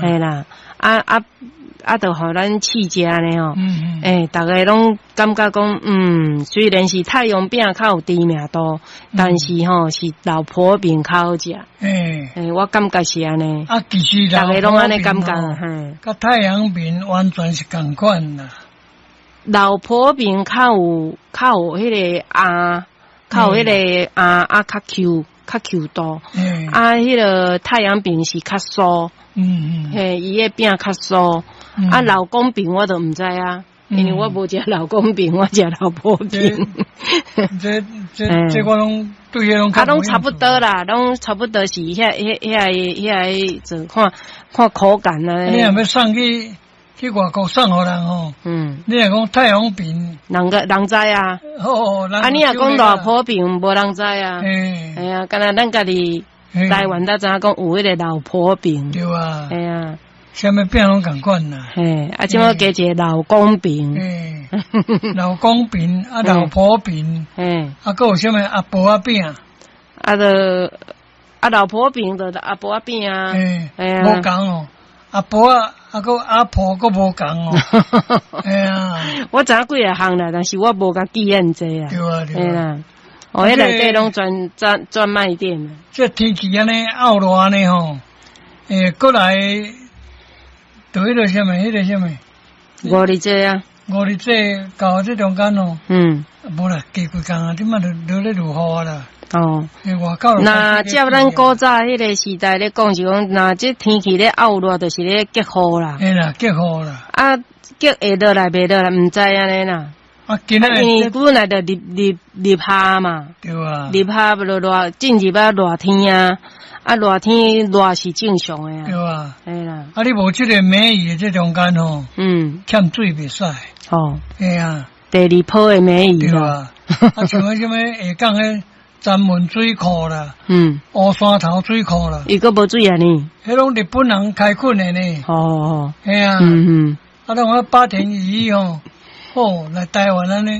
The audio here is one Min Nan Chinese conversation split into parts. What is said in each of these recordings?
嘿啦，啊啊啊，就予咱試食呢吼。欸，逐家攏感覺講，雖然是太陽餅較有知名度，但是吼是老婆餅較好食。欸，我感覺是按呢。啊，其實逐家攏按呢感覺，嘿。佮太陽餅完全是仝款啦。老婆餅較有彼個餡，較有彼個餡啊，較 Q 較 Q 度。啊，彼個太陽餅是較酥。嘿，伊的餅較酥。啊，老公餅我都毋知啊，因為我無食老公餅，我食老婆餅。這我攏對彼攏啊，攏差不多啦，攏差不多是遐做看看口感啊。你若欲送去外國送予人吼？你若講太陽餅，人個人知啊。哦，啊，你若講老婆餅，無人知啊。嘿啊，敢若咱家己台灣才知影講有彼個老婆餅。對啊。嘿啊。啥物餅攏仝款啦。嘿，啊，這馬加一個老公餅。嘿，老公餅啊，老婆餅。啊，閣有啥物阿婆仔餅？啊，就啊，老婆餅就阿婆仔餅啊。嘿，無仝哦，阿婆仔啊，閣阿婆閣無仝哦。嘿啊。我知影幾若項啦，但是我無共記遐濟啊。對啊，對啊。哦，彼內底攏專賣店。這天氣按呢漚熱按呢吼，欸，過來。就彼個啥物，彼個啥物？五日節啊！五日節到這中間哦。無啦，過幾工啊，這馬就落咧落雨啊啦。哦。外口。若照咱古早彼個時代咧講，是講，若這天氣咧漚熱，就是咧結雨啦。嘿啦，結雨啦。啊，結會落來袂落來，毋知按呢啦。啊，今仔因為本來就入夏嘛。對啊。入夏就熱，進入啊熱天啊。啊，熱天熱是正常的啊。對啊。嘿啦。啊，你無這個梅雨的這中間吼，欠水袂使。哦。嘿啊。第二波的梅雨。對啊。啊，像彼啥物下港彼鏨門水庫啦，烏山頭水庫啦。伊閣無水啊呢？彼攏日本人開墾的呢。哦哦。嘿啊。啊，攏講八田與一吼，好來台灣按呢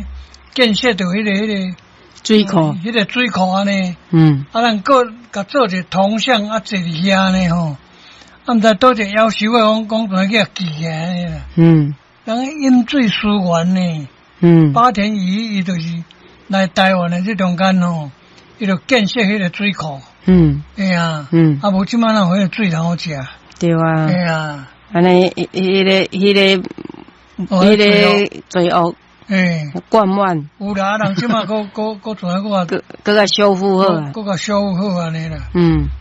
建設著彼個水庫，彼個水庫按呢。啊，咱閣共做一個銅像啊，坐佇遐呢吼。啊，毋知佗一個夭壽的講講怎去共記起來啦。人飲水思源呢。八田與一伊就是來台灣的這中間吼，伊就建設彼個水庫。嘿啊。啊，無這馬哪有彼個水通好食？對啊。嘿啊。按呢，彼個罪惡。欸，灌滿。有啦，人這馬閣怎閣閣閣共修復好啊。閣共修復好按呢啦。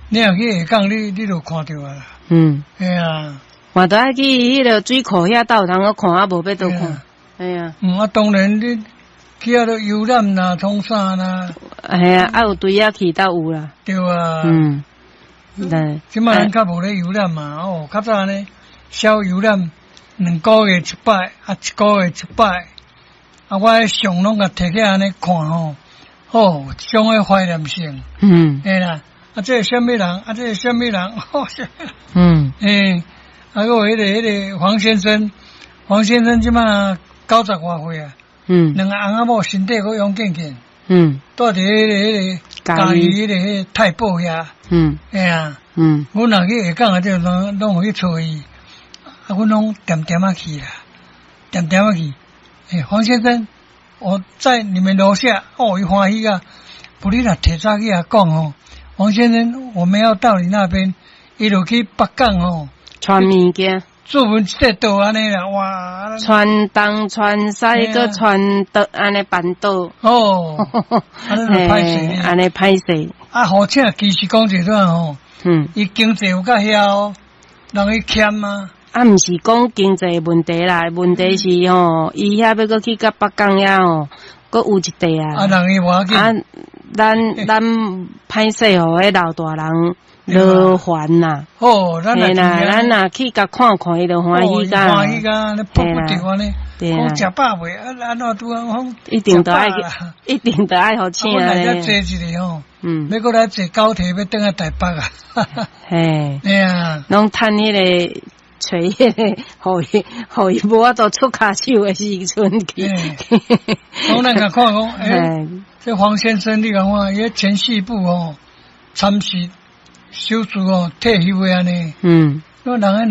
你若去下港，你就看著啊啦。嘿啊。嘛著愛去彼個水庫遐鬥通閣看，啊，無欲佗看。嘿啊。啊，當然你去遐都遊覽啦，創啥啦。嘿啊，啊有隊仔去斗有啦。對啊。對。這馬人較無咧遊覽嘛，哦，較早呢，小遊覽2個月一擺，啊，一個月一擺。啊，我彼相攏共提起按呢看吼，哦，這種的懷念性。嘿啦，啊，這個啥物人？啊，這個啥物人？哦，欸，啊，閣有彼個黃先生，黃先生這馬90外歲啊。兩个翁仔某身體閣勇健健。住佇彼個嘉義彼個太保遐。嘿啊。阮若去下港啊，這攏有去揣伊，啊，阮攏恬恬仔去啦，恬恬仔去。欸，黃先生，我在你們樓下，哦，伊歡喜啊！無你若提早去共講吼，黃先生，我們要到你那邊，伊就去北港吼，傳物件，做阮這桌按呢啦，哇！傳東傳西，閣傳倒按呢扳倒。哦，按呢歹勢，按呢歹勢。啊，好請其實講一段吼，伊經濟有較曉哦，人伊儉啊。啊，毋是講經濟問題啦，問題是吼，伊遐欲閣去到北港遐吼，閣有一塊啊。啊，人伊無要緊。啊，咱歹勢予彼老大人勞煩啦。哦，咱若咱若去共看看，伊就歡喜甲。歡喜甲，你迫不著按呢。講食飽未？啊，按怎拄啊？講一定著愛，一定著愛予請咧。阮來遮坐一下吼，欲閣來坐高鐵，欲轉來台北啊。嘿。嘿啊。攏趁彼個。揣彼個，予伊無法度出跤手的時陣去。講咱共看講，欸，這黃先生你共看，伊前四部吼，參事手術哦，退休的按呢。我人彼兩